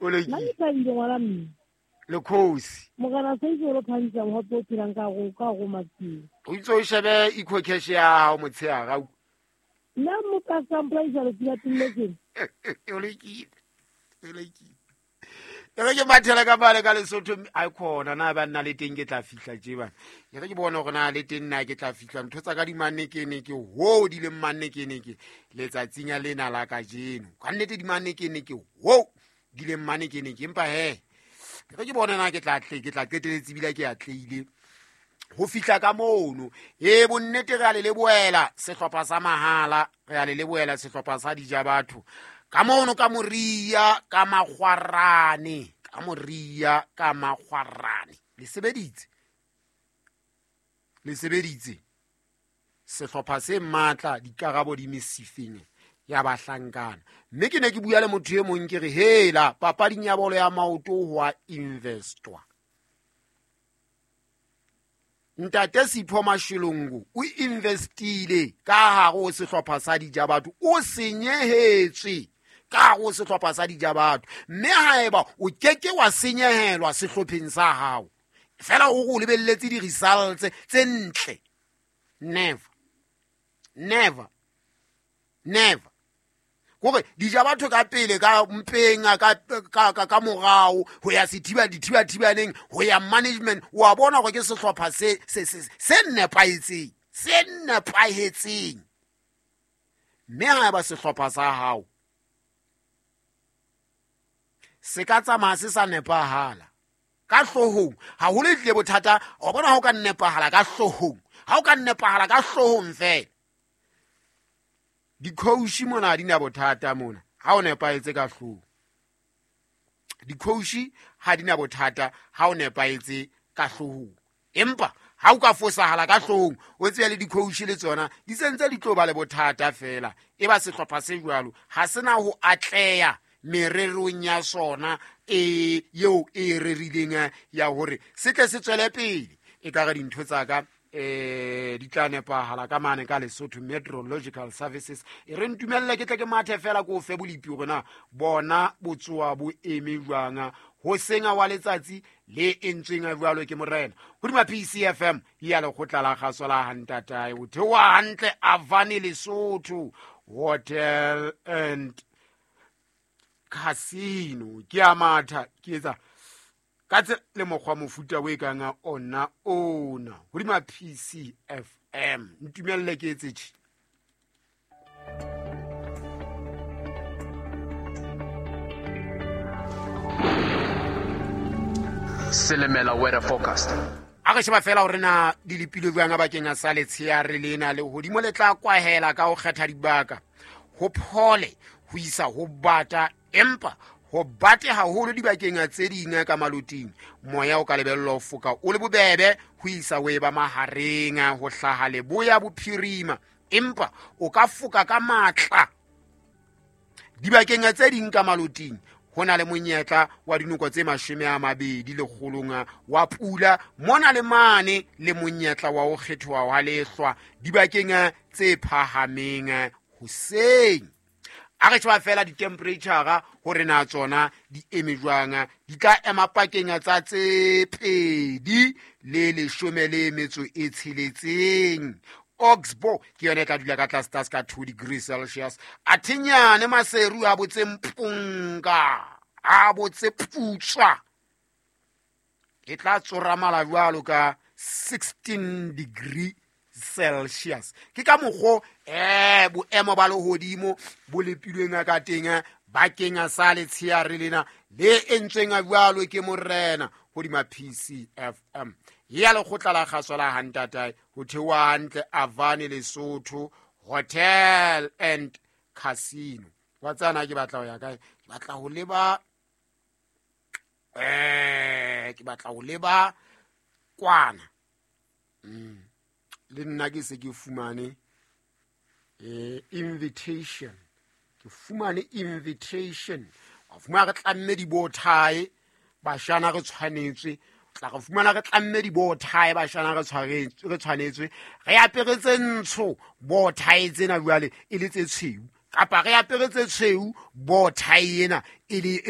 O Nna lokile. Ke thabile ngwana mme. Le khosi. Morena se itse o phamisa mogope o phelang ka go maphelo. O itse o shebe ecocash ya hao motshehare au. Nna mo ka sampolaisa letsatsi la tumeletseng. O lokile, o lokile. E re ke mathele ka mane ka Lesotho, mme ai khona na ba nna le teng ke tla fihla tje bana. E re ke bone hore na le teng nna ke tla fihla ntho tsa ka di manekeneke ho di leng manekeneke letsatsing lena la kajeno. Ka nnete di manekeneke ho di leng manekeneke, empa he ke re ke bone na ke tla tle ke tla qeteletse ebile ke atlehile ho fihla ka mono. E bonnete re a le lebohela sehlopha sa mahala, re a le lebohela sehlopha sa dija batho ka mono ka Moria ka Makgwarane, ka Moria ka Makgwarane. Le sebeditse, le sebeditse sehlopha se matla, dikarabo di mesifeng ya bahlankana. Mme ke ne ke bua le motho e mong ke re hela papading ya bolo ya maoto ho a investwa. Ntate Sipho Mashilongo o investile ka hare ho sehlopha sa dija batho, o senyehetswe ka hare ho sehlopha sa dija batho. Mme haeba o keke wa senyehelwa sehlopheng sa hao fela o re o lebelletse di-results tse ntle, never, never, never. Kore dija batho ka pele ka mpeng ka morao ho ya sethiba dithibathibaneng ho ya management, wa bona hore ke sehlopha se nepahetseng, se nepahetseng. Mme haeba sehlopha sa hao se ka tsamaya se sa nepahala ka hloohong, haholo e tlile bothata. Wa bona ha o ka nepahala ka hloohong, ha o ka nepahala ka hloohong fela, di-coach mona ha di na bothata mona. Ha o nepahetse ka hloohong, di-coach ha di na bothata ha o nepahetse ka hloohong. Empa ha o ka fosahala ka hloohong, o tsebe le di-coach le tsona di sentse di tlo ba le bothata fela. E ba sehlopha se jwalo ha se na ho atleha mererong ya sona e eo e rerileng ya hore se tle se tswele pele. E ka re dintho tsa ka di tla nepahala ka mane ka Lesotho Meteorological Services. E re ntumelle ke tle ke mathe fela ko fe bolipi hore na bona botsoa bo eme jwang ho senga wa letsatsi le entsweng jwalo ke morena. Hodima PCFM ya lekgotla la kgaso la hantatae, o theoha hantle Avani Lesotho Hotel and Casino. Ke a matha ke etsa ka tsela le mokgwa mofuta o e kang a ona ona hodima PCFM. Ntumelle ke etse tjhe. Selemela weather forecast. A re sheba fela hore na di lepilwe jwang bakeng a sa letsheare lena. Lehodimo le tla kwahela ka ho kgetha dibaka, ho phole ho isa ho bata, empa ho bate haholo dibakeng tse ding ka maloting. Moya o ka lebellwa ho foka o le bobebe ho isa ho eba mahareng ho hlaha leboya bophirima, empa o ka foka ka matla dibakeng tse ding ka maloting. Ho na le monyetla wa dinoko tse 20 lekgolong wa pula mona le mane, le monyetla wa ho kgethoha wa lehlwa dibakeng tse phahameng hoseng. A re sheba fela di-temperature hore na tsona di eme jwang. Di tla ema pakeng tsa tse 2 le 16. Oxbow ke yona e tla dula ka tlase tlase ka 2 degrees Celsius. Athinyane Maseru a botse mpunga, a botse putswa, e tla tsoramala jwalo ka 16 degree Celsius. Ke ka mokgo boemo ba lehodimo bo lepilweng ka teng bakeng sa letsheare lena le entsweng jwalo ke morena hodima PCFM ya lekgotla la kgaso la hantatae, ho theoha hantle Avani Lesotho Hotel and Casino. Wa tsana ke batla ho ya kae? Ke batla ho leba ke batla ho leba kwana. Le nna ke se ke fumane invitation. Ke fumane invitation. Wa fumana re tlamme dibothae, bashana re tshwanetswe. Tla re fumana re tlamme dibothae, bashana re tshwanetswe. Re apere tse ntsho, bothae tsena jwale e le tse tshweu. Kapa re apere tse tshweu, bothae ena e le